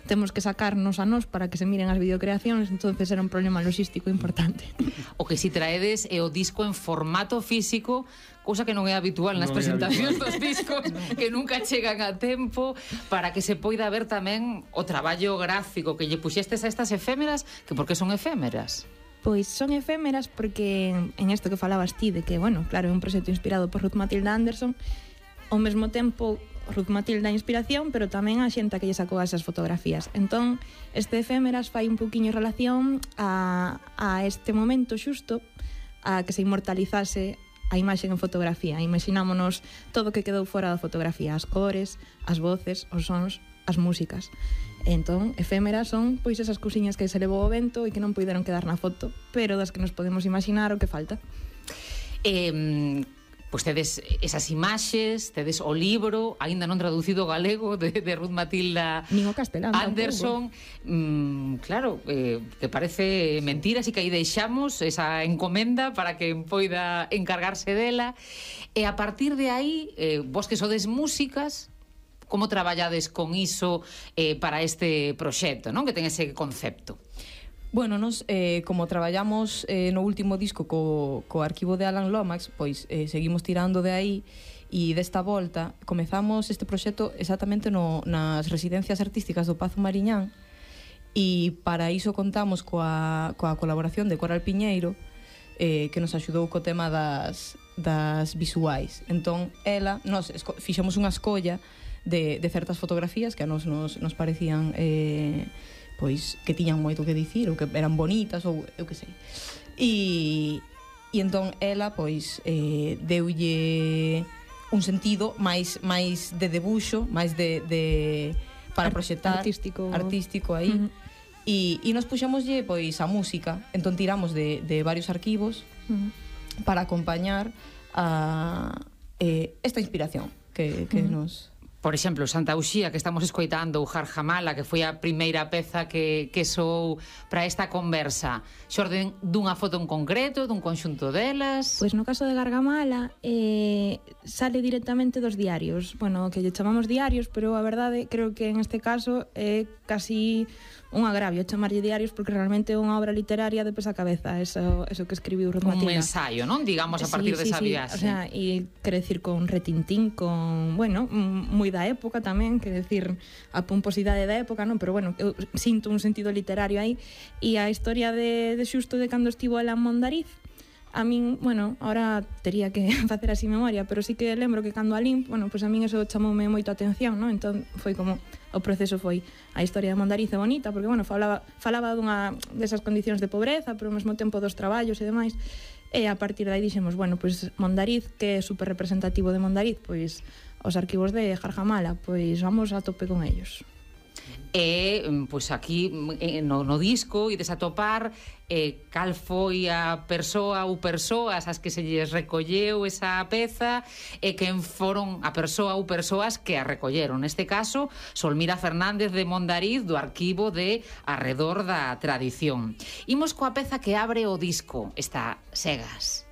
temos que sacarnos a nós para que se miren as videocreacións, entonces era un problema logístico importante. O que si traedes é o disco en formato físico, cousa que non é habitual nas presentacións dos discos, que nunca chegan a tempo, para que se poida ver tamén o traballo gráfico que lle puxestes a estas efémeras, que por que son efémeras? Pois son efémeras porque en isto que falabas ti de que, bueno, claro, é un proxecto inspirado por Ruth Matilda Anderson, ao mesmo tempo Ruth Matilda a inspiración, pero tamén a xenta que lle sacou esas fotografías. Entón, este efémeras fai un pouquiño relación a este momento xusto, a que se inmortalizase a imaxe en fotografía. Imaxinámonos todo o que quedou fora da fotografía, as cores, as voces, os sons, as músicas. Entón, efémeras son pois esas cousiñas que se levou o vento e que non puideron quedar na foto, pero das que nos podemos imaginar o que falta. Pois tedes esas imaxes, tedes o libro, aínda non traducido ao galego, de Ruth Matilda Anderson. Claro, que parece mentira, así que aí deixamos esa encomenda para que poida encargarse dela. E a partir de aí, vos que sodes músicas, como traballades con iso para este proxecto, non? Que ten ese concepto. Bueno, nos, como traballamos no último disco co arquivo de Alan Lomax, pois seguimos tirando de aí, e desta volta comezamos este proxecto exactamente nas residencias artísticas do Pazo Mariñán, e para iso contamos coa colaboración de Coral Piñeiro, que nos axudou co tema das visuais. Entón, nos fixemos unha escolla de certas fotografías que a nos parecían pois que tiñan moito que dicir, ou que eran bonitas, ou eu que sei. E entón ela pois deulle un sentido máis de debuxo, máis de para proxectar artístico aí. E nos puxamoslle pois a música, entón tiramos de varios arquivos para acompañar a esta inspiración que nos... Por exemplo, Santa Uxía, que estamos escoitando, o Jarjamala, que foi a primeira peza que sou para esta conversa, xorden dunha foto en concreto, dun conxunto delas? Pois no caso de Gargamala sale directamente dos diarios, bueno, que lle chamamos diarios, pero a verdade creo que en este caso é casi un agravio chamarlle diarios, porque realmente é unha obra literaria de pés a cabeza, eso que escribiu Ruth Matilda. Un ensayo, non? Digamos, a partir desa viaxe. O sea, e quere decir con retintín, con, bueno, moi da época tamén, quere decir a pomposidade da época, non? Pero bueno, eu sinto un sentido literario aí, e a historia de xusto de cando estivo ela en Mondariz, a min, bueno, ahora tería que facer así memoria, pero sí que lembro que cando alín, bueno, pois a min eso chamoume moito a atención, non? Entón foi como, o proceso foi a historia de Mondariz é bonita, porque, bueno, falaba dunha desas condicións de pobreza, pero ao mesmo tempo dos traballos e demais, e a partir de aí dixemos, bueno, pois Mondariz, que é super representativo de Mondariz, pois os arquivos de Jarjamala, pois vamos a tope con ellos. E, pois aquí no disco ides a topar cal foi a persoa ou persoas as que se lles recolleu esa peza e quen foron a persoa ou persoas que a recolleron. Neste caso, Solmira Fernández de Mondariz, do arquivo de Arredor da Tradición. Imos coa peza que abre o disco, esta Segas.